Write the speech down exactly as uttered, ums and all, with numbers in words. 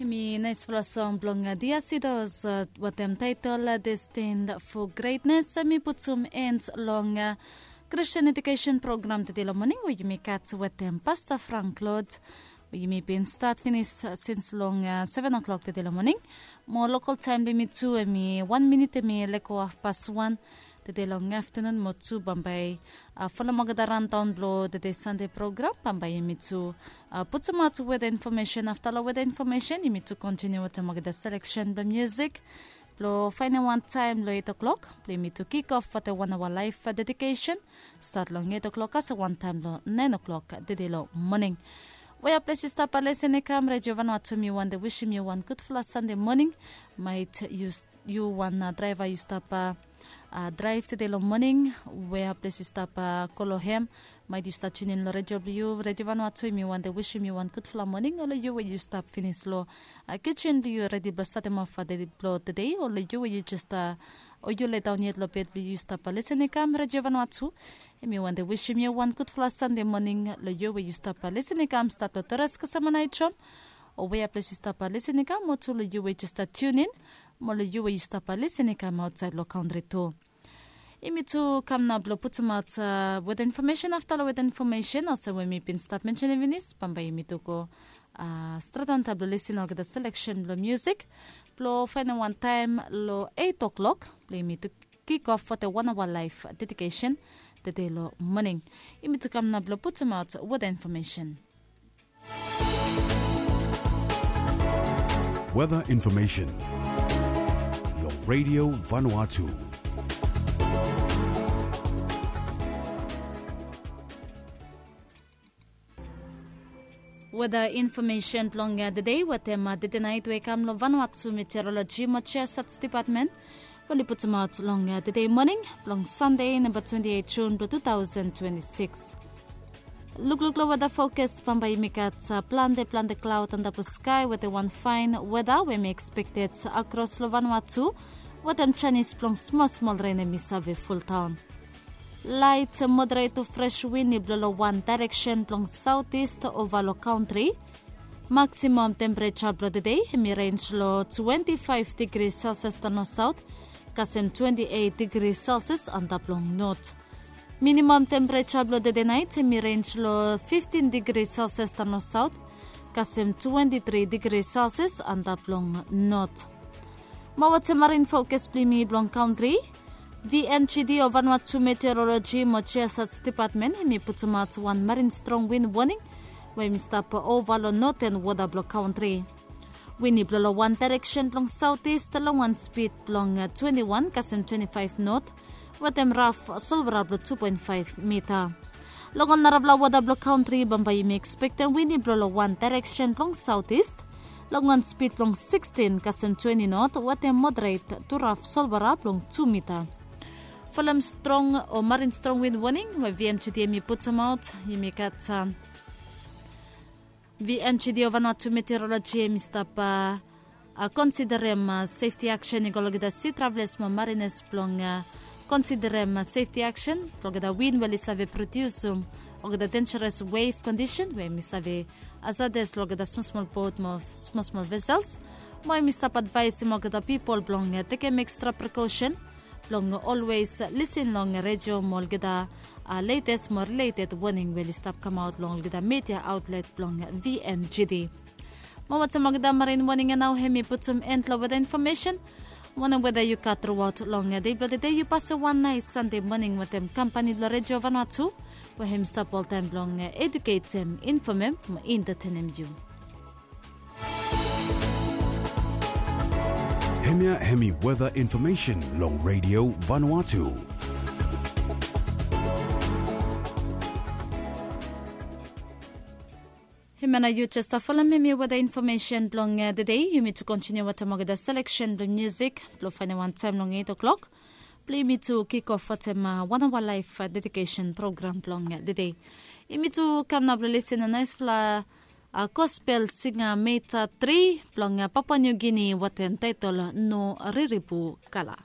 Hemi naesfala song blong Diasidos wetem taetol Destined for Greatness. Hemi putum en long Christian Education Program tede long moning we yumi gat wetem Pasta Frank Lord, we yumi bin stat finis sins long seven o'clock tede long moning. Mo lokal taem blong yumi tu hemi wan minit hemi lego hafpas wan tede long aftenun mo tu bambae. Folem olgeta randaon blong tede Sande program bambae yumi tu putumaot weda infomesen. Afta long weda infomesen yumi tu kontiniu wetem olgeta seleksen blong musik blong faenem wan taem long eit o'klok blong yumi tu kikof wetem wan aoa laef dedikesen. Stat long eit o'klok kasem wan taem long naen o'klok tede long moning. Wea ples yu stap lesen i kam Redio Vanua tu mi wande wisim yu wan gudfala Sande moning. Maet yu wan draeva yu stap draev tede long moning, wea ples yu stap go long hem, maet yu stap tiunin long redio blong yu Redio Vanua tu mi wande wisim yu wan gudfala moning. Ol yu we yu stap finis long kijen blong yu redi blong statem of dei blong tede, ol yu we yu jes o yu ledaon yet long bed blong yu stap lesen i kam Redio Vanua tu. Hemi wande wisim yu wan gudfala Sande moning long yu we yu stap lesen i kam stat long Torres kasem Anaitom, o wea ples yu stap lesen i kam mo tu long yu we jes stap tiunin, mo long yu we yu stap lesen i kam aotsaed long kantri tu. Yumi tu kam nao blong putumaot weda infomesen. Afta long weda infomesen olsem we mi bin stap mensenem finis bambae yumi tu go stret antap blong lisin olgeta seleksen blong musik blong faenem wan taem long eit o'klok blong yumi tu kikof wetem wan aoa laef dedikesen tede long moning. Yumi tu kam nao blong putumaot weda infomesen. Weather information long Radio Vanuatu. Weather information blong tede wetem tede naet we i kam long Vanuatu Meteorology mo Geosats Department. Oli putumaot long tede moning blong Sande namba twenti eit Jun blong two thousand twenty six. Lukluk long weda fokas bambae yumi gat plante plante klaod antap long skae wetem wan faen weda we mi ekspekted akros long Vanuatu wetem janis blong smol smol ren hemi save fuldaon. Laet moderet tu fres win i blo long wan daereksen blong saotis ova long kantri. Maksimam tempereja blong tede hemi renj long twenti faef digri selsias taon long saot kasem twenti eit digri selsias antap long not. Minimam tempereja blong tede naet hemi renj long fiftin digri selsias taon long saot kasem twenti tri digri selsias antap long not. Mo wetem marin fokas blong yumi blong kantri, vmgd o Vanuatu Meteoroloji mo Jiasats Depatmen hemi putumaot wan marin strong win woning we hemi stap ova long noten wota blong kantri. Win i blo long wan daereksen blong saotis long wan spid blong twenti wan kasem twenti faef not wetem raf solwara blong tu poen faef mita. Long ol narafala wota blong kantri bambae yumi ekspektem win i blo long wan daereksen blong saotis long wan spid blong sikstin kasem twenti not wetem moderet tu raf solwara blong tu mita. Folem strong o marin strong win woning we vmgd hemi putumaot yumi gat vmgd o Vanuatu Meteoroloji hemi stap konsiderem sefti aksen i go long olgeta si traveles mo marines blong konsiderem sefti aksen blong olgeta win we oli save prodiusum olgeta denjeres wef kondisen we hemi save hazades long olgeta smol smol bot mo smol smol vesels. Mo hemi stap advaesem olgeta pipol blong tekem ekstra prekosen blong olwes lisin long redio mo olgeta letes mo rileted woning we oli stap kamaot long olgeta media aotlet blong vmgd. Mo wetem olgeta marin woning ya nao hemi putum en long weta infomesen. Wanem weta yu gat truaot long dei blong tede yu pasem wan naes sande moning wetem kampani blong redio Vanuatu we hemi stap oltaem blong eduketem, infomem mo entatenem yu. Hemia hemi weta infomesen long redio Vanuatu. Hemia nao yu jes stap folem hemi weta infomesen blong tede. Yumi tu kontiniu wetem olgeta seleksen blong musik blong faenem wan taem long eit o'klok blong yumi tu kikof wetem wan aoa laef dedikesen program blong tede. Yumi tu kam nao blong lisin long naesfala gospel singa meta tri blong Papua New Guinea wetem taetol No Riribu Kala.